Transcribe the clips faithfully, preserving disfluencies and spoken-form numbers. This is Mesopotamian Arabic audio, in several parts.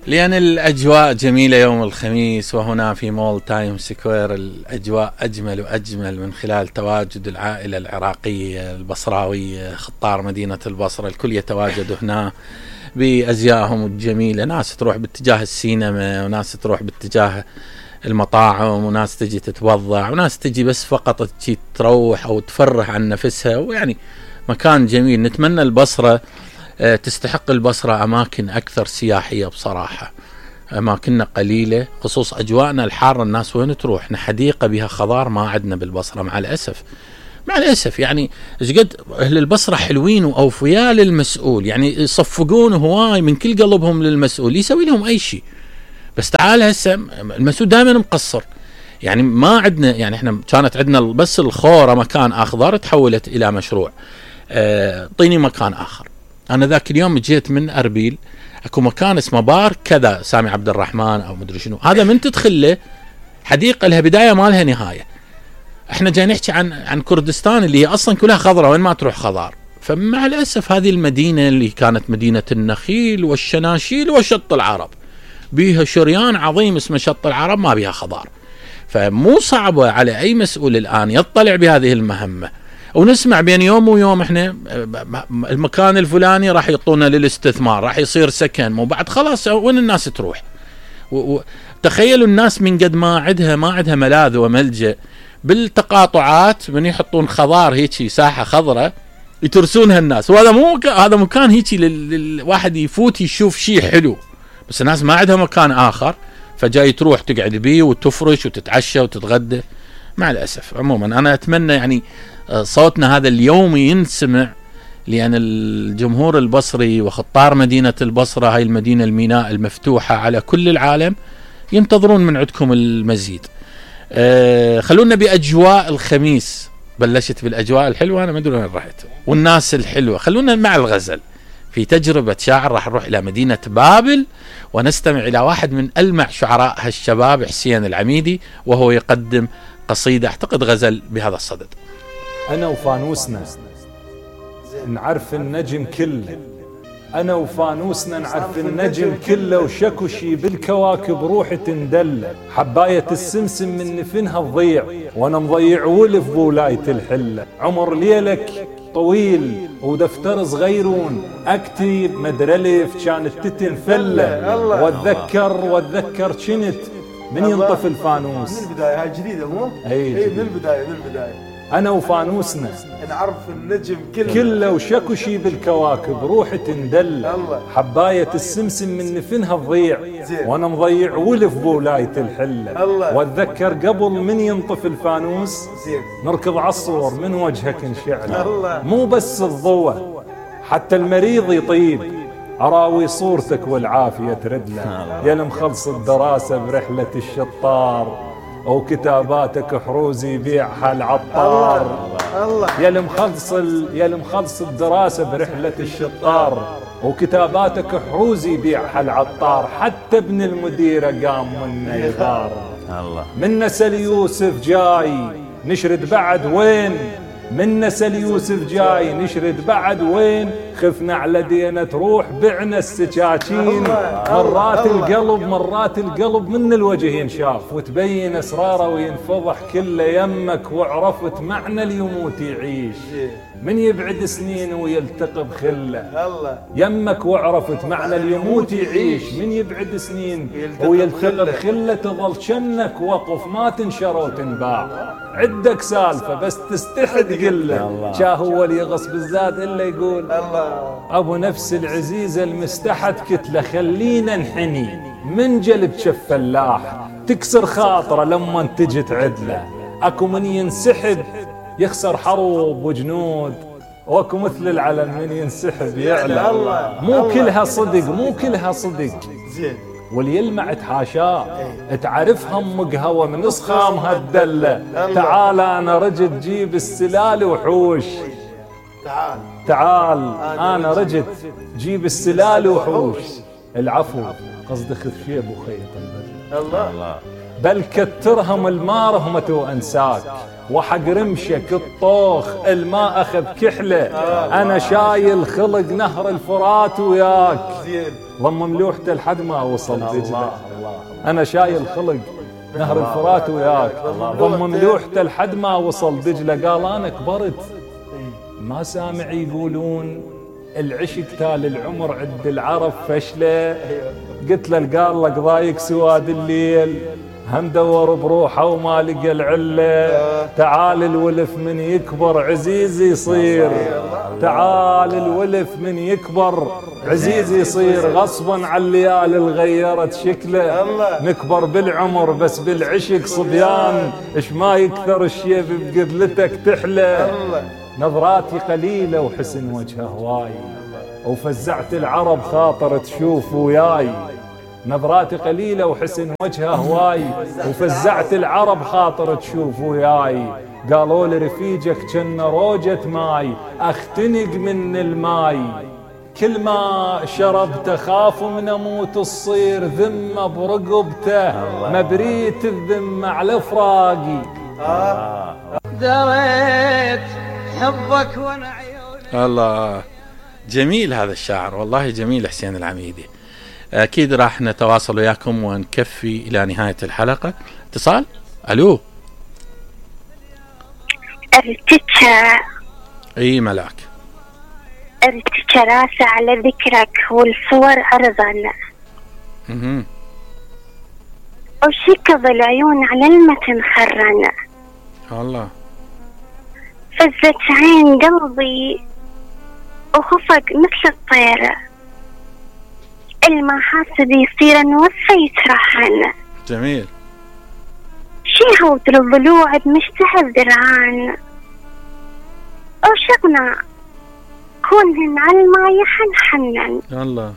لأن الأجواء جميلة يوم الخميس، وهنا في مول تايم سكوير الأجواء أجمل وأجمل من خلال تواجد العائلة العراقية البصراوية، خطار مدينة البصرة. الكل يتواجد هنا بأزيائهم الجميلة، ناس تروح باتجاه السينما، وناس تروح باتجاه المطاعم، وناس تجي تتوضع، وناس تجي بس فقط تجي تروح أو تفرح عن نفسها. ويعني مكان جميل. نتمنى البصرة تستحق البصرة أماكن أكثر سياحية بصراحة. أماكننا قليلة، خصوص أجواءنا الحارة. الناس وين تروح؟ احنا حديقة بها خضار ما عندنا بالبصرة مع الأسف. مع الأسف يعني قد أهل البصرة حلوين وأوفياء للمسؤول، يعني يصفقون هواي من كل قلبهم للمسؤول، يسوي لهم أي شيء. بس تعال هسه المسؤول دائما مقصر. يعني ما عندنا، يعني احنا كانت عندنا بس الخورة مكان أخضر تحولت إلى مشروع. اعطيني اه مكان آخر. أنا ذاك اليوم جيت من أربيل، أكو مكان اسمه بار كذا سامي عبد الرحمن أو مدري شنو، هذا من تدخل له حديقة لها بداية ما لها نهاية. احنا جاي نحكي عن عن كردستان اللي هي أصلا كلها خضرة، وين ما تروح خضار. فمع الأسف هذه المدينة اللي كانت مدينة النخيل والشناشيل وشط العرب، بيها شريان عظيم اسمه شط العرب، ما بيها خضار. فمو صعبة على أي مسؤول الآن يطلع بهذه المهمة. ونسمع بين يوم ويوم احنا المكان الفلاني راح يعطونا للاستثمار، راح يصير سكن، وبعد خلاص وين الناس تروح؟ تخيلوا الناس من قد ما عندها ما عندها ملاذ وملجأ بالتقاطعات، من يحطون خضار هيك ساحة خضراء يترسونها الناس. وهذا مو هذا مكان هيك للواحد يفوت يشوف شيء حلو، بس الناس ما عندها مكان آخر، فجاي تروح تقعد بيه وتفرش وتتعشى وتتغدى. مع الأسف. عموما أنا أتمنى يعني صوتنا هذا اليوم ينسمع، لأن الجمهور البصري وخطار مدينة البصرة، هاي المدينة الميناء المفتوحة على كل العالم، ينتظرون من عندكم المزيد. أه خلونا بأجواء الخميس. بلشت بالأجواء الحلوة، أنا ما أدري وين رحت، والناس الحلوة. خلونا مع الغزل في تجربة شاعر. راح نروح إلى مدينة بابل ونستمع إلى واحد من ألمع شعراء هالشباب، حسين العميدي، وهو يقدم قصيدة أعتقد غزل بهذا الصدد. أنا وفانوسنا نعرف النجم كله، أنا وفانوسنا نعرف النجم كله، وشكو شي بالكواكب روح تندله. حباية السمسم من نفنها تضيع، وأنا مضيع ولف بولاية الحلة. عمر ليلك طويل ودفتر صغيرون، أكتب مدرلف كانت تتنفلة. واتذكر واتذكر كنت من ينطف الفانوس. من البداية هاي جديدة مو؟ اي من البداية من البداية. أنا وفانوسنا نعرف النجم كله كله، وشكو شي بالكواكب روح تندل. حباية السمسم من نفنها تضيع، وأنا مضيع ولف بولاية الحلة. واتذكر قبل من ينطف الفانوس نركض عالصور من وجهك نشعله. مو بس الضوء حتى المريض يطيب، أراوي صورتك والعافية تردله. يا المخلص الدراسة برحلة الشطار، أو كتاباتك حروز يبيعها العطار. يا المخلص يا المخلص الدراسة برحلة الشطار، وكتاباتك حروز يبيعها العطار. حتى ابن المديرة قام منا يغار. من نسل يوسف جاي نشرد بعد وين، من نسل يوسف جاي نشرد بعد وين. خفنا على دينا تروح بعنا السكاكين. مرات القلب مرات القلب من الوجه ينشاف، وتبين اسراره وينفضح كله. يمك وعرفت معنى اليموت يعيش، من يبعد سنين ويلتقى بخله. يمك وعرفت معنى اليموت يعيش، من يبعد سنين ويلتقى بخله. تظل شنك وقف ما تنشر وتنباع، عدك سالفة بس تستحي تقله. شا هو اللي يغص بالزاد إلا يقول أبو نفس العزيزة المستحت كتله. خلينا نحني من جلب شف فلاح، تكسر خاطره لما تجي تعدله. أكو من ينسحب يخسر حروب وجنود، واكو مثل العلم من ينسحب يعلى. مو كلها صدق مو كلها صدق واللي يلمع تحاشاه. تعرف همك هوى من اصخامها الدله. تعال انا رجت جيب السلال وحوش. تعال تعال انا رجت جيب السلال وحوش. العفو قصد خذ شيب وخيط البدل. الله بل كترهم المارهمة وانساك، وحق رمشك الطوخ الماء اخذ كحله. انا شايل خلق نهر الفرات وياك، ضم ملوحته لحد ما اوصل دجله. انا شايل خلق نهر الفرات وياك، ضم ملوحته لحد ما وصل دجله. قال انا كبرت ما سامع يقولون العشق تال العمر عند العرب فشله. قلت له قال لك ضايق سواد الليل، هم دور بروحه وما لقى العله. تعال الولف من يكبر عزيز يصير، تعال الولف من يكبر عزيز يصير. غصبا على الليالي الغيرت شكله، نكبر بالعمر بس بالعشق صبيان. اش ما يكثر الشيب بقدلتك تحلى. نظراتي قليلة وحسن وجهه هواي، وفزعت العرب خاطر تشوف وياي. نظراتي قليلة وحسن وجهه هواي، وفزعت العرب خاطر تشوف وياي. قالوا لي رفيجك كن روجة ماي، اختنق من الماي. كل ما شربت خاف من اموت تصير ذمة برقبته، مبريت الذمة على فراقي. دريت حبك وانا عيوني. الله جميل هذا الشعر، والله جميل حسين العميدي. اكيد راح نتواصل وياكم ونكفي الى نهاية الحلقة. اتصال. الو. ارتجى. اي ملاك. ارتجى راسي على ذكرك والصور ارضا. اها. وشكض العيون على المتن خرنا. الله. فزت عين قلبي وخفق مثل الطيرة، المحاسب يصير نوفى يترحن. جميل. شي هود الضلوع بمشتهى درعان، وشغنا كونهن على الماء يحنحنن. الله.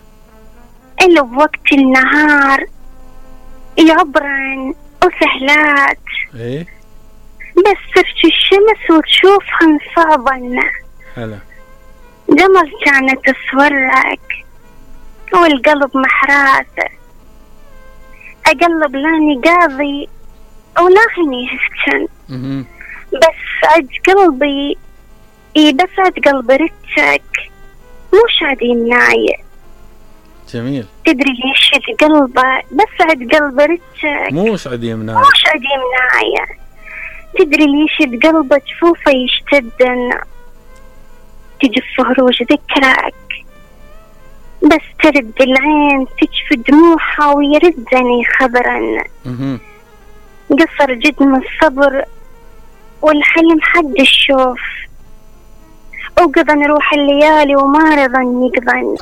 اللي بوقت النهار يعبرن وسهلات، ايه بس ترجي الشمس وتشوفهن صعبن. هلا. جمل كانت تصورك والقلب محراسه، اقلب لاني قاضي ولاهني هفتن. بس عد قلبي اي بس عد قلب رتك مش عد يمناي. جميل. تدري ليش عد قلبه بس عد قلب رتك مش عد يمناي مش عد يمناي. تدري ليش عد قلبه جفوفه يشتدن، تجف هروج ذكرك بس ترد العين تجف دموعها ويردني خبرا. قصر جدم الصبر والحلم حد الشوف، وقضى نروح الليالي وما رضى يقضن.